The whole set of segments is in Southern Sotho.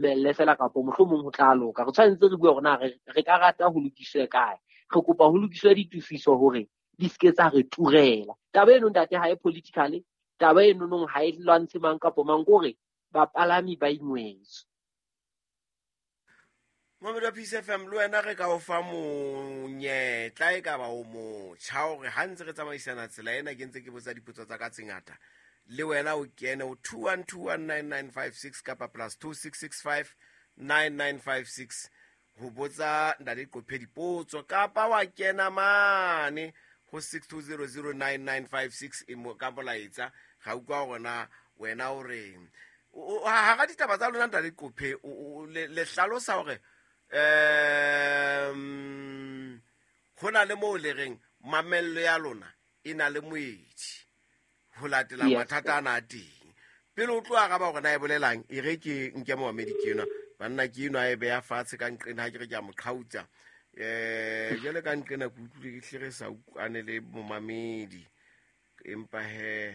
Mamelle fela kapo mohlomong ho tla loka. Re tshwanetse re bue hore na re ka rata ho lokiswe kae. Re kopa ho lokiswe ditefiso hore di seke tsa re turela. Taba eno, ntate, ha e political. Taba eno nong ha e lwantshe mang kapo mang, ke hore bapalami ba ingwetswe. Momedi wa Peace FM, le wena re ka o fa monyetla, e ka ba o motjha, hore ha ntse re tsamaisana tsela ena, ke ntse ke botsa dipotso tsa ka tse ngata, le wena o kene o 21219956 kapa +2665 9956 ho botsa Ntate Qophe dipotso, kapa wa kena mane ho 62009956 ka molaetsa. Ga utlwa gore na wena o reng. Hara ditaba tsa lona, Ntate Qophe, le hlalosa hore ho na le moo le reng mamello ya lona e na le moedi ho latela mathata ana a teng. Pele o tlo araba hore na e bolelang, e re ke nke momamedi. Ke enwa, banna, ke enwa e beya fatshe ka nqena. Ha ke re ke a mo qhautsa, jwale ka nqena ke utlwile ke hle re sa utlwane le momamedi, empa he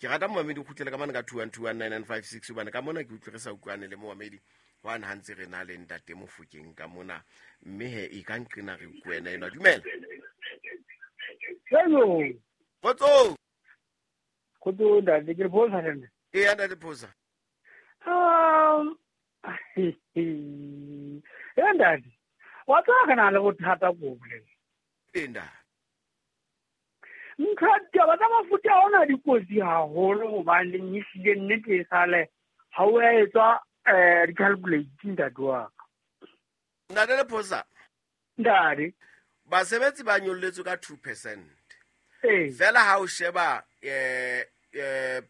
ke rata momamedi o kgutlele ka mane ka 21219956, hobane ka mona ke utlwe re sa utlwane le momamedi hwane ha ntse re na le Ntate Mofokeng ka mona. Mme he e ka nqena re wena enwa. Dumela. Hello. Kgotso. Kgotso, ntate, ke re phosa le nna. E ya, Ntate Phosa. Ntate, wa tseba re na le bothata ko boleng. Ee, ntate. Ntho taba tsa mafuta a ona di kotsi haholo, hobaneng ehlile nnete e sale ha o ya etswa di-calculate, ntate wa ka. Ntate Le Phosa. Ntate. Basebetsi ba nyolletswe ka 2%. Ee. Fela ha o sheba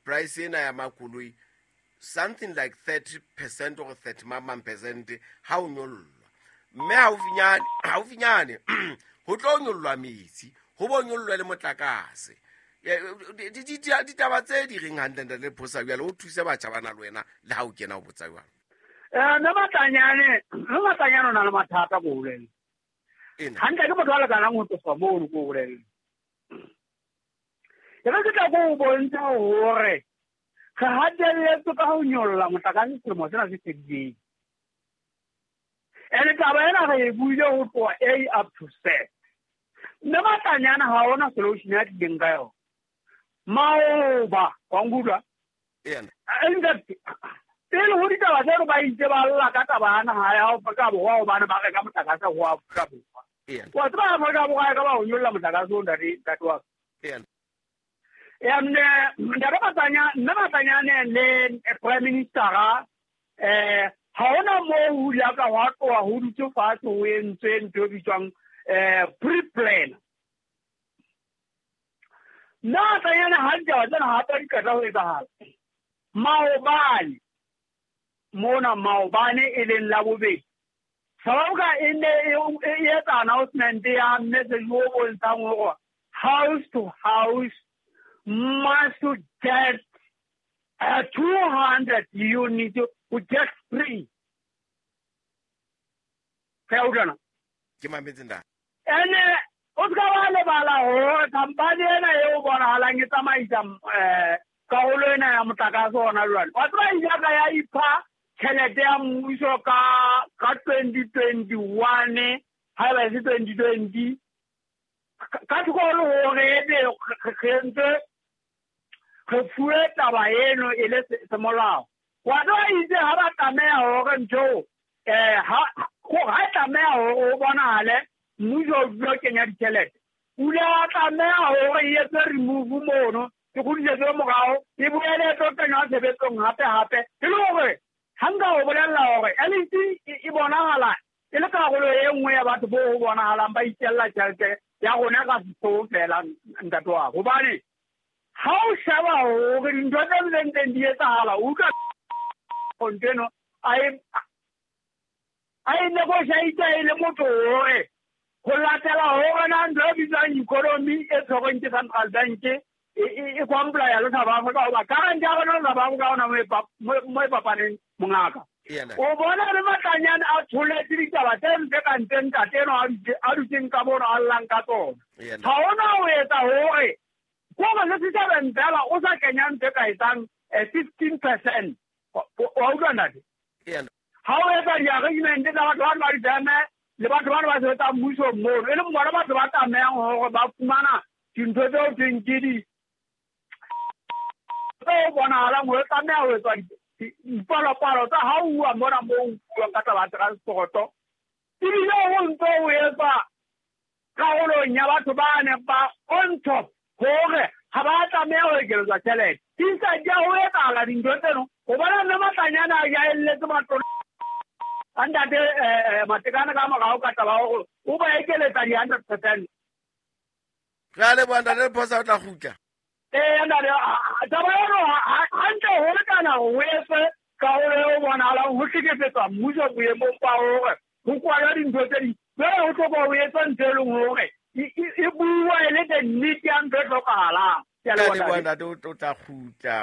price ena ya makoloi, something like 30% or 30 mamang percent ha o nyollwa, mme haufinyane ho tlo nyollwa metsi, ho bo nyollwa le motlakase. Ditaba tse di reng hantle, Ntate Phosa? Jwale o thuse batjha ba na le wena le ha o kena o botsa jwalo. Mme Matlanyane o na le mathata ko boleng. Ena. Hantle ke motho a lekanang ho tlosa mono ko boleng. E re ke tla ko o bontsha hore re hatelletswe ka ho nyolla motlakase selemo sena se fedileng. Ene taba ena re e buile ho tloha A up to Z. Mme Matlanyane ha ona solution ya tlileng ka yona. Maoba, wa nkutlwa? Ena. Ntate, pele ho ditaba tseno ba itse ba lla ka taba ya naha ya Afrika Borwa, hobane ba reka motlakase ho Afrika Borwa. Ena. Wa tseba Afrika Borwa e ka ba ho nyolla motlakase o, ntate, ntate wa ka. Ena. Ya mme ntate Matlanya, mme Matlanyane le prime minister, ha hona moo ho ile ka hwa tloha ho dutse fatshe ho entswe ntho e bitswang pre-plan. Nna Matlanyane ha ditaba tsena hape di qeta ho etsahala. Maobane mona, maobane e leng la bobedi, South Africa e ne e etsa announcement ya message o bontshang hore house to house must get 200 units to get free. Re a utlwana? Ke mametse, ntate. Ene o ska wa lebala hore company ena eo bonahalang e tsamaisa karolo ena ya motlakase ona jwale. Wa tseba ile ka ya ipha tjhelete ya mmuso ka 2021, haeba e se 2020, ka thoko le hore ebe re ntse re fuwe taba eno e le semolao. Wa tseba itse ha ba tlameha hore ntho ha e tlameha hore o bonahale mmuso o dula o kenya ditjhelete, o ile wa tlameha hore e etswe remove mono, e kgutlisetswe morao, e boele e tlo kenywa tshebetsong hape hape, e le hore ha nka o bolella hore LEC e bonahala e le karolo e nngwe ya batho bo ho bonahalang ba itjella tjhelete ya rona ka sehloho fela, ntate wa ka. Hobane ha o sheba hore dintho tse ntseng di etsahala, o utlwa ntho eno a e negotiate e le motho hore ho latela hore na ntho e bitswang economy e tshwerweng ke central bank e comply le South Africa, hoba current ya rona le South Africa ona mo e fapaneng, mongaka. Ena. O bona le Matlanyane a tsholetse ditaba tse mpe ka ntle, ntate eno a dutseng ka mono a llang ka tsona. Ena. Ha hona ho etsa hore kore le setjhabeng fela o sa kenya ntho e ka etsang 15%. Wa utlwa, ntate? Ha o etsa di-arrangement tsa batho bano ba difeme le batho bano ba sebetsang mmusong mono, e leng bona batho ba tlamehang hore ba fumana dintho tseo thweng ke di tseo bonahalang hore tlameha ho etswa dipalopalo tsa ha o uwa mona moo o buang ka taba ya transporoto, ebile ho ntso o etswa karolong ya batho ba neng ba on top hore ha ba tlameha ho ekeletswa tjhelete. Di sa di a ho etsahala dintho tseno, ho bona mme Matlanyana a ja elletse matona a ntate Matekane ka morao ka taba hore o ba ekeletsa di-100%. Re a leboha, ntate Lephosa, o tla kgutla. Ee, ntate, taba eno hantle ho lekana hore o etse karolo eo bonahalang ho hlekefetswa mmuso boemong ba hore ho kwalwa dintho tse ding. Jwale ho hloka ho etswa ntho e leng hore e bua e le the nnete ya ntho e hlokahalang. Ke a leboha, ntate, o tla kgutla.